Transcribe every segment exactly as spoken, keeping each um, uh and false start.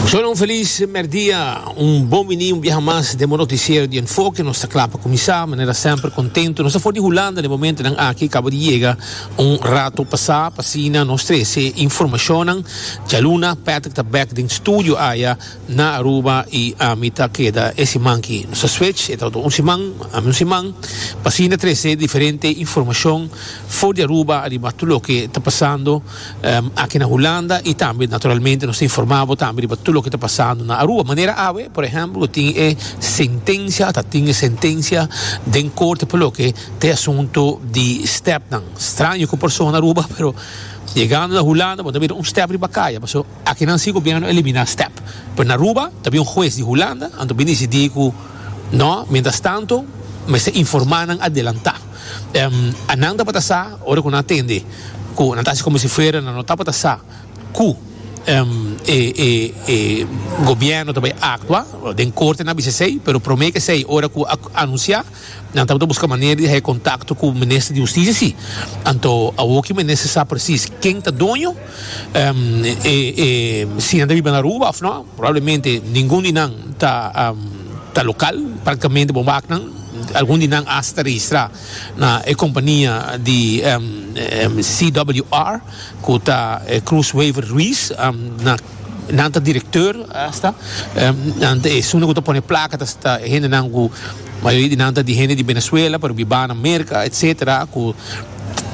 Solo un felis merdia, un bon bini un biaha mas den noticiero di Enfoke. Nos ta cla pa cuminsa, manera semper contento. Nos ta for di Hulanda na e momentonan aki, caba di yega un rato pasa, pa asina nos trece informacion. Djaluna, Patrick ta back den studio aya na Aruba y ami ta keda e siman aki. Nos switch, e un siman, ami un siman, pa asina trece diferente informacion for di Aruba, riba tur loke ta pasando um, aki na Hulanda y tambe naturalmente nos ta informa tambe riba tur loke ta pasando na Aruba. Manera awe, por ehempel, tin e sentencia, ta tin e sentencia den corte pa loke ta e asunto di stepnan. Straño cu persona na Aruba, pero yegando na Hulanda, bo ta mira un step riba caya, paso aki nan si gobierno a elimina step. Pero na Aruba, tambe un hues di Hulanda, anto bin dicidi cu no, mientras tanto, mester informa nan adelanta. Um, nan tabata sa, ora cu nan a tende, cu nan ta como si fuera no tabata sa, cu um, e, e, e gobierno tambe a actua den corte na B C C, pero prome cu esey, ora cu anuncia, nan tabata busca manera di haya contacto cu e minister di Husticia si. Anto, awor cu minister sa precies ken ta doño, um, e, e, si nan ta biba na Aruba of no, probablemente ningun di nan ta um, ta local, practicamente bon nan, algun di nan hasta registra na e compania di um, um, C W R, cu ta eh, Croes Wever Ruiz, um, na nan ta director hasta um, nan ta esun cu ta pone placa ta ta hendenan cu mayoria di nan ta di hende di Venezuela pero biba na America, et cetera, cu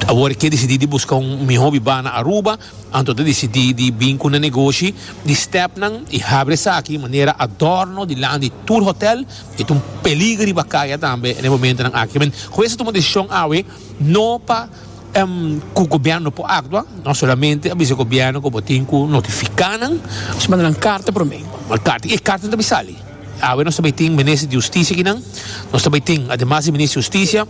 awor cu dicidi di busca un miho biba na Aruba, anto a dicidi di bin cu un negoshi di stepnan y habri esaki manera adorno dilanti tur hotel y un peliger riba caya tambe na e momentonan aki. Men, hues a tuma decision awe no pa um, cu gobierno por actua, no solamente a bisa gobierno cu tin cu notifica nan. Se manda un carta pa mi. Un carta. E carta tambe sali. Awe nos tambe tin minister di Husticia akinan. Nos tambe tin, ademas di minister di Husticia,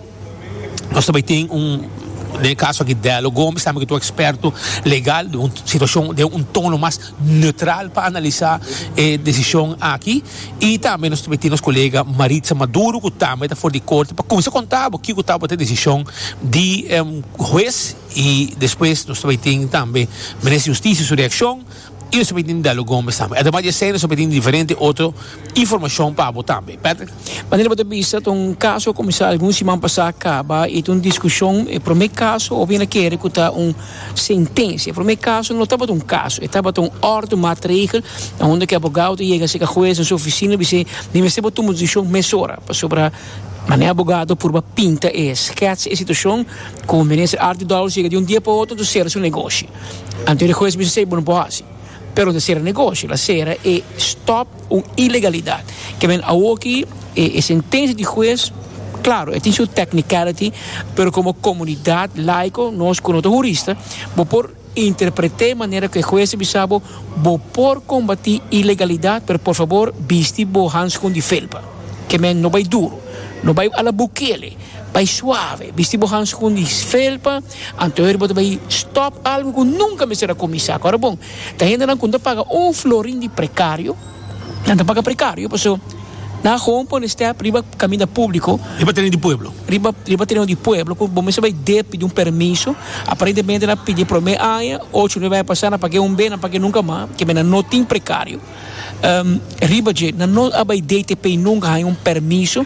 nos tambe tin un den e caso aki Delo Gomes, tambe cu ta un experto legal, di un situacion, di un tono mas neutral pa analisa e decision aki. Y tambe nos tambe tin nos colega Maritza Maduro, cu tambe ta for di corte, pa cuminsa conta kico tabata e decision di um, hues y despues nos tambe tin tambe minister di Husticia su reaccion y nos tambe tin Delo Gomes tambe. Ademas di esey, nos tambe tin diferente otro informacion pa bo tambe. Patrick? Manera bo ta bisa, un caso cuminsa algun siman pasa caba y un discusion, e prome caso, of bin kere cu ta un sentencia. Prome caso no tabata un caso, tabata un ordemaatregel, unda cu e abogado yega serca hues den su oficina, bisa, mi mester tuma un decision mesora, pasobra manera abogado por pinta e schets e situacion cu minister Arthur Dowers yega di un dia pa otro cera su negoshi. Anto e hues bisa, "Bon, no por haci." Pero no cera negoshi, el a cera e stop un ilegalidad. Kiermen aki e, e sentencia di hues, claro, e tin su technicality, pero como comunidad laico, nos como hurista, bo por interpreta manera cu e hues a bisa bo, bo por combati ilegalidad, pero por fabor, bisti bo handschoen di felpa. Kiermen no bay duro, no bay a la Bukele, bay suave, bisti bo handschoen di felpa, anto bo bay stop algo cu nunca mester a cuminsa. Awor bon, ta hendenan cu no ta paga un florin di precario, nan ta paga precario, paso nan gewoon pone step riba caminda publico. Riba tereno di pueblo. Riba riba tereno di pueblo, cu bo mester bay pidi un permiso, aparentemente nan a pidi prome aña, ocho nuebe aña pasa, nan a paga un be, nan a paga nunca mas, kiermen nan no tin precario. Um, riba dje, nan no a bay D T P nunca hay un permiso.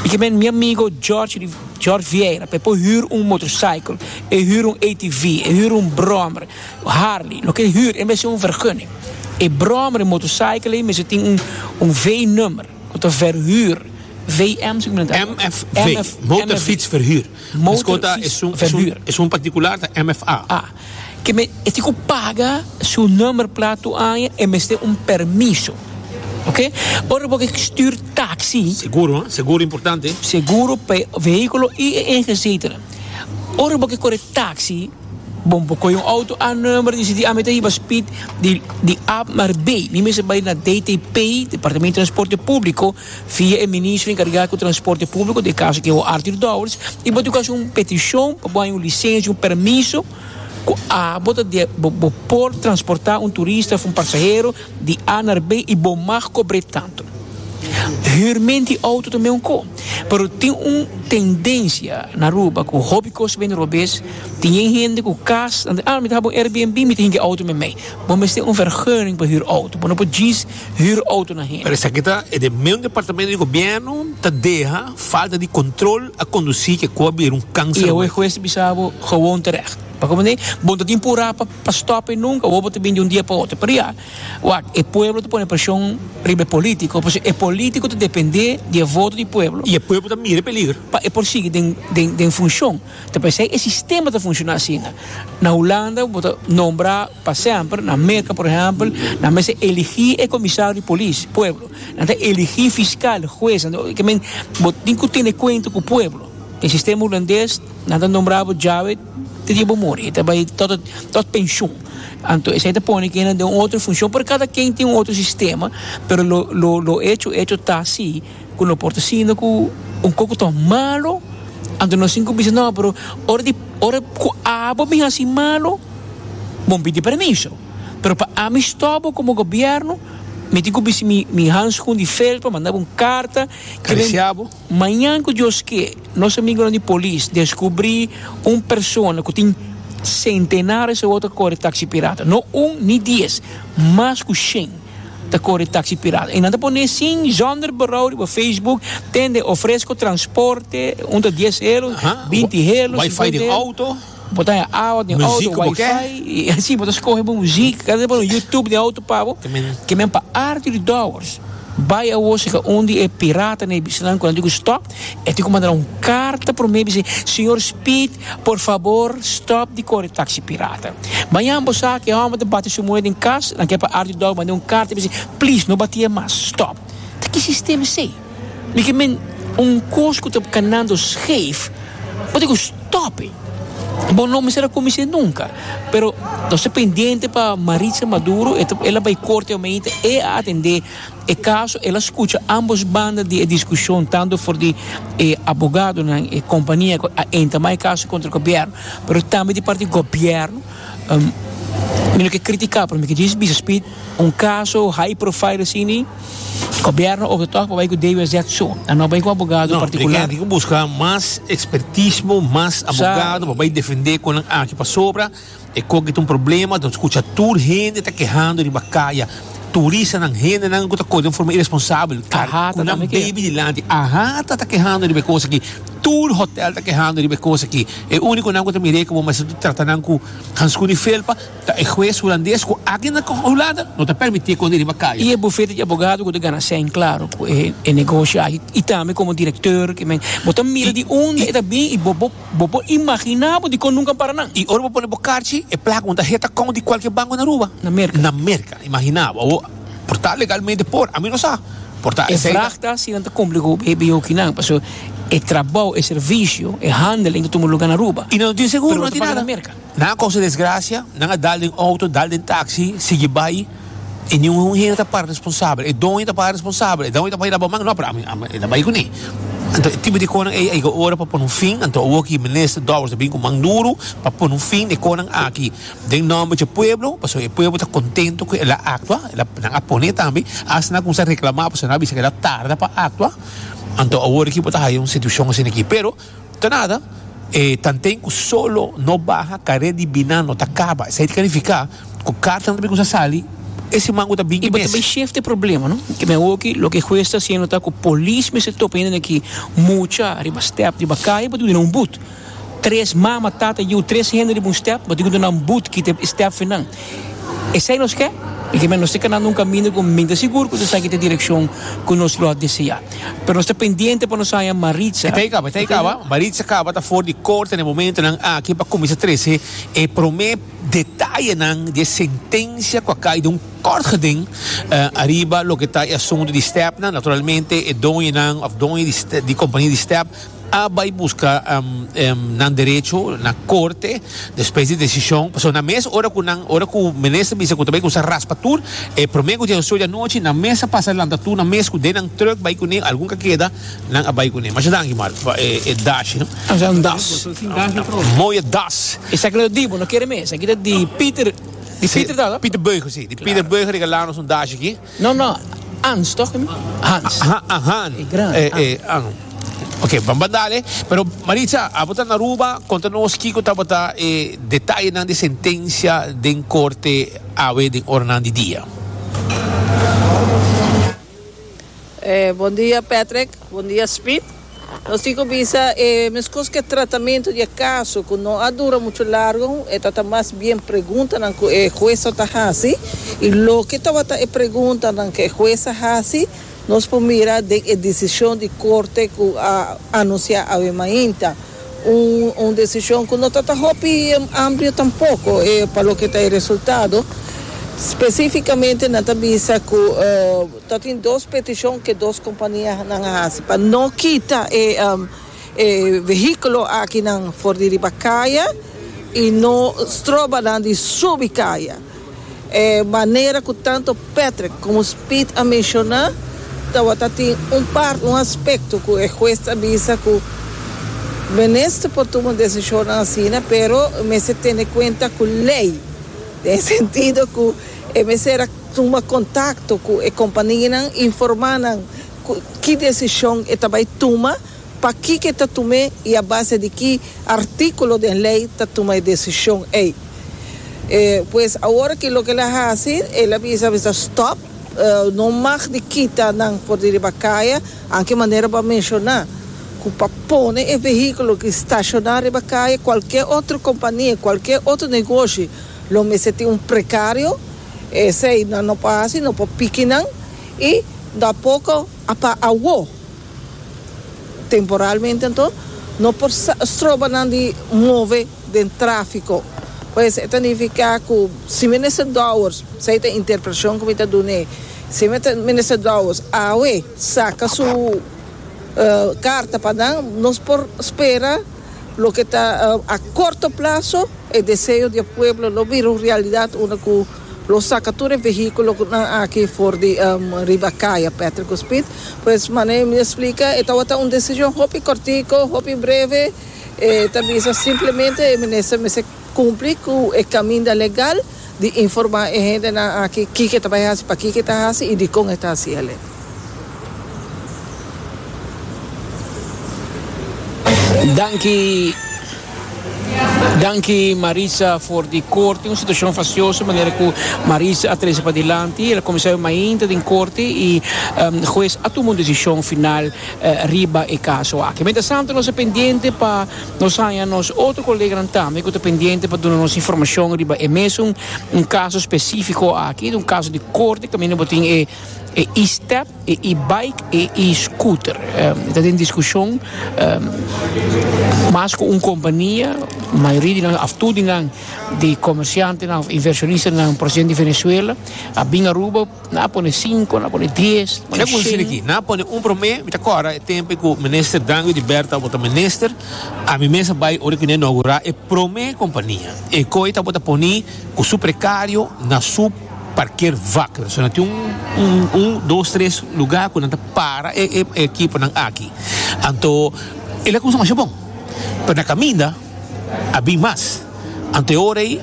Y kiermen mi amigo George George Vieira, pa huur un motorcycle, e huur un A T V, e huur un brommer, Harley, loke huur, e mester un vergunning. E brommer, e motorcycle, mester tin un un V-nummer, cu ta verhuur. V M, zeg maar. M F V, motorfietsverhuur. Motorfietsverhuur. Esun, esun particular, ta M F A. Ah, kiermen, e tin cu paga su nummerplaat tur aña y mester un permiso. Ok? Ora bo stuur taxi. Seguro, hein? Seguro importante. Seguro pa vehiculo y ingezetenen. Ora bo core taxi, bon, bo un auto a nummer, di di a hiba speed di di A naar B. Mi mester bay na D T P, Departamento di Transporte Publico, via e minister encarga cu transporte publico, den caso cu ta Arthur Dowers, y bo tin un peticion pa un licencia, un permiso, cu A bo de bo, bo por transporta un turista of un pasahero di A naar B y bo mag cobra tanto. Huurmento di auto tambe un co. Pero tin un tendencia na Aruba cu hopi cos bin robes. Tin hende ku kas, ah, mi ta un Airbnb, mi tin auto met mij. Bo mester un vergunning pa huur auto. Bo no por djis huur auto na hende. Pero esaki ta e mesun departamento di gobierno ta deha falta di control a conduci cu a bira un cancer. Y e hues bisa bo gewoon terecht. Pa como nee, bon tin pura pa pa stop nunca, of te di un dia pa otro. Pero ja, wak, e pueblo ta pone presion riba politico, pasobra e politico ta depende di voto di pueblo. Y e pueblo tambe mira peliger. Pa e por sigui den den den funcion. Te pensa e sistema ta funciona asina. Na Hulanda, bo ta nombra pa semper, na Merca, por ehempel, nan mester eligi e comisario di polis, pueblo. Nan ta eligi fiscal, hues, kiermen bo tin cu tene cuenta cu pueblo. E sistema hulandes, nan ta nombra djawe te dia bo muri, ta bay tot tot pensioen. Anto, esey ta pone cu den un otro funcion, pero cada ken tin un otro sistema, pero lo lo lo hecho hecho ta asina, cu no por ta asina cu un poco tan malo, anto nos tin cu bisa no, pero ora di ora cu abo bin asina malo, bon pidi permiso. Pero pa ami stop como gobierno, mi tin cu bisa mi mi handschoen di felpa, manda un carta, Caricia bo. Mañan cu Dios kier, nos amigo di polis descubri un persona cu tin centenares di auto core taxi pirata. No un ni dies, mas cu cien ta core taxi pirata. Y nan ta pone asina, zonder berouw op Facebook, tende ofrezco transporte, un ta dies euro, Aha. binti euro, Wi-Fi di cincuenta euro. Auto. Bo ta awa di Muziek auto, bo ke? Wi-Fi, y asina, bo ta scoge bo muziek, cada bo YouTube di auto pa bo. Tambe. Kiermen pa Arthur Dowers. Bay awo ka unda e pirata ne bisanan cu digo stop, e tin cu manda un carta pa mi bisa: "Señor Speed, por fabor, stop di core taxi pirata." Mañan bo sa cu homber ta bati su muher den cas, nan kier pa Arthur Dowers manda un carta bisa: "Please, no bati mas, stop." Ta ki sistema esey? Mi kiermen un cos cu ta canando scheef, bo tin cu stop it. Bon, no mester a cuminsa nunca. Pero nos ta pendiente pa Maritza Maduro, el a bay corte realmente y atende e caso, el a scucha ambos banda di discusion, tanto for di eh, abogado na eh, compania a entra e caso contra gobierno, pero tambe di parti di gobierno. Um, mi no kier critica, pero mi kier bisa Speed, un caso high profile asina, gobierno of toch bay cu D W Z so, y no bay cu abogado No, particular. tin cu busca mas expertismo, mas abogado, pa bay defende cu aki pa sobra. E cu tin un problema, anto scucha tur hende ta kehando di caya. Turistanan, hendenan cu ta core di forma irresponsabel. AHATA Cu nan tambe ke. Baby dilanti. AHATA ta kehando di cos aki. Tur hotel ta kehando di cos aki. E unico nan cu ta mira como mas trata nan cu handschoen di felpa, ta e hues hulandes cu aki na Hulanda no ta permiti cu riba caya. Y e bufete di abogado cu ta gana cen, claro, e, e negoshi aki. Y tambe como director, kiermen, bo ta mira di unda e ta bin y bo bo bo por imagina bo di con nunca para nan. Y ora bo pone bo carchi, e placa ta hit account di cualkier banco na Aruba. Na Merca. Na Merca, imagina. O, por ta legalmente por, ami no sa. Por ta E esey ta- vraag ta si nan ta cumpli cu B B O kinan, paso e trabou, e servicio, e handeling ta tuma luga na Aruba. Y no tin seguro, Pero no tin paga nada. na Merca. Nan a causa desgracia, nan a dal den auto, dal den taxi, sigui bay, y ningun hende ta para responsabel. E doño ta para responsabel, e doño ta para man, no, pero ami, ami, e ta bay cune. Anto, tipo di cosnan ey, ey, ora pa pone un fin, anto aki minister Dowers ta bin cu man duro pa pone un fin di cosnan aki. Den nomber di pueblo, paso e pueblo ta contento cu el a actua, el a nan a pone tambe, hasta nan cuminsa reclama, paso nan a bisa cu el a tarda pa actua. Anto awor aki bo ta haya un situacion asina aki, pero ta nada, eh, tanten cu solo no baha, care di bina no ta caba. Esey ta significa cu carta nan tambe sali, e siman ta bin Y mes. tambe shift e problema, no? Kiermen aki, loke hues ta haciendo ta cu polis mester topa hende aki mucha riba step riba caya pa duna un boet. Tres mama, tata, yiu, tres hende riba un step, pa duna un boet kita step final. Esey nos kier? Y kiermen nos ta canando un caminda cu mi ta sigur cu esaki ta e direccion cu nos lo desea. Pero nos ta pendiente pa nos haya Maritza. Tey caba, tey caba. Maritza caba ta for di corte na momentonan aki pa cuminsa trece e prome detayenan di sentencia cu a cay den un kort geding uh, ariba loke ta e asunto di step na naturalmente e doñonan of doño di, di compania di step a bay busca um, um, nan derecho na corte despues di decision. So na mes ora cu nan ora cu minister bisa cu tambe cu sa raspa tur e prome cu dia di anochi na mes a pasa lanta tur na mes cu den nan truck bay cune algun cu keda nan a bay cune. Mas danki, Mark, e, e dash, no? Ah, un das. Mooie das. Esaki ta di bo, no kier mes. Esaki ta di Peter, di Peter ta? Peter Beuger, si. Di Peter Beuger regala nos un dash aki. No, no. Hans, toch? Hans. Aha, aha. E grandi. Eh, eh, ah, no. Ok, ban dale. Pero Maritza, abo ta na Aruba, conta nos kico tabata e detayenan di sentencia den corte awe den oranan di dia. Eh, bon dia, Patrick. Bon dia, Speed. Nos tin cu bisa, eh, mescos cu tratamento di caso, cu no a dura mucho largo, e ta mas bien preguntanan cu e hues ta hasi, y loke tabata e preguntanan cu e hues a hasi, nos por mira den e decision di corte cu a anuncia awe mainta. Un, un decision cu no ta hopi amplio tampoco, eh, pa loke ta e resultado. Specificamente nan ta bisa cu uh, tin dos peticion cu dos companianan a hasi pa no kita e um, e vehiculo akinan for di riba caya y no stroba nan di subi caya. E manera cu tanto Patrick como Speed a menciona, tabata tin un par un aspecto cu e hues a bisa cu minister por tuma un decision asina, pero mester tene cuenta cu ley. Den sentido cu e mester a tuma contacto cu e companianan, informa nan ki decision e ta bay tuma, pakico e ta tuma y a base di ki articulo di ley ta tuma e decision ey. Eh, pues awor cu loke el a hasi, el a bisa bisa stop, uh, no mag di kita nan for di riba caya, aunke manera pa menciona, cu pa pone e vehiculo cu staciona riba caya, cualkier otro compania, cualkier otro negoshi, lo mester tin un precario, esey no, no pasa, no por piki nan, y tampoco pa awo temporalmente anto, no por stroba nan di move den trafico. Pues esaki ta nifica cu si minister Dowers, esey ta interpretacion cu mi ta duna, si minister Dowers awe saca su uh, carta pa nan, nos por spera loke ta uh, a corto plazo e deseo di pueblo lo bira realidad unda cu lo saca tur e vehiculonan aki for di um, riba caya, Patrick, Speed. Pues manera mi a splica, e ta un decision hopi cortico, hopi breve, eh, tambe simplemente e minister mester cumpli cu e caminda legal di informa e hendenan aki kico ta bay hasi, pakico ta hasi y di con ta hasi. Danki. Danki, Marisa, for di corte. Un situacion fastioso, manera cu Marisa a trece padilanti. El a cuminsa mainta den corte y um, hues a tuma un decision final uh, riba e caso aki. Mientras tanto, nos ta pendiente pa nos haya nos otro colega tambe cu ta pendiente pa duna nos informacion riba e mesun un caso specifico aki, un caso di corte, caminda bo tin e e e-step, e e-bike e e-scooter. Um, ta den discusion um, mas cu un compania, mayoria di nan, of tur di nan, di comerciantenan, of inversionistanan procedente di Venezuela, a bin Aruba, nan a pone cinco, nan a pone dies, pone aki, nan a pone un prome, mi ta corda, e tempo cu minister Dangui Oduber tabata minister, ami mes a bay ora cu nan a inaugura e prome compania. E coy tabata poni cu su precario na su parkeervak. So nan tin un, un, un, dos, tres lugar cu nan ta para e, e, e ekiponan aki. Anto, el a cuminsa masha bon. Pero na caminda, a bin mas. Anto ora ey,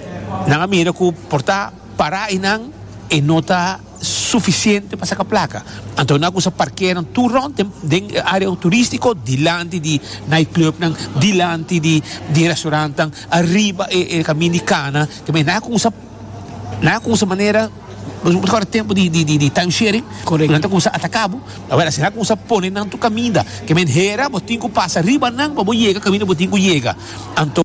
nan a mira cu por ta para eynan e no ta suficiente pa saca placa. Anto nan a cuminsa parkeer nan tur rond den area turistico, dilanti di nightclubnan, dilanti di di restaurantnan, ariba e, e caminda di cana, tambe nan a cuminsa nan a cuminsa manera awor tempo di, di, di, di time sharing. Correcto. Nan cuminsa ataca bo. Awor asina cuminsa pone nan tur caminda. Kiermen hera bo tin cu pasa riba nan pa bo yega caminda bo tin cu yega. Anto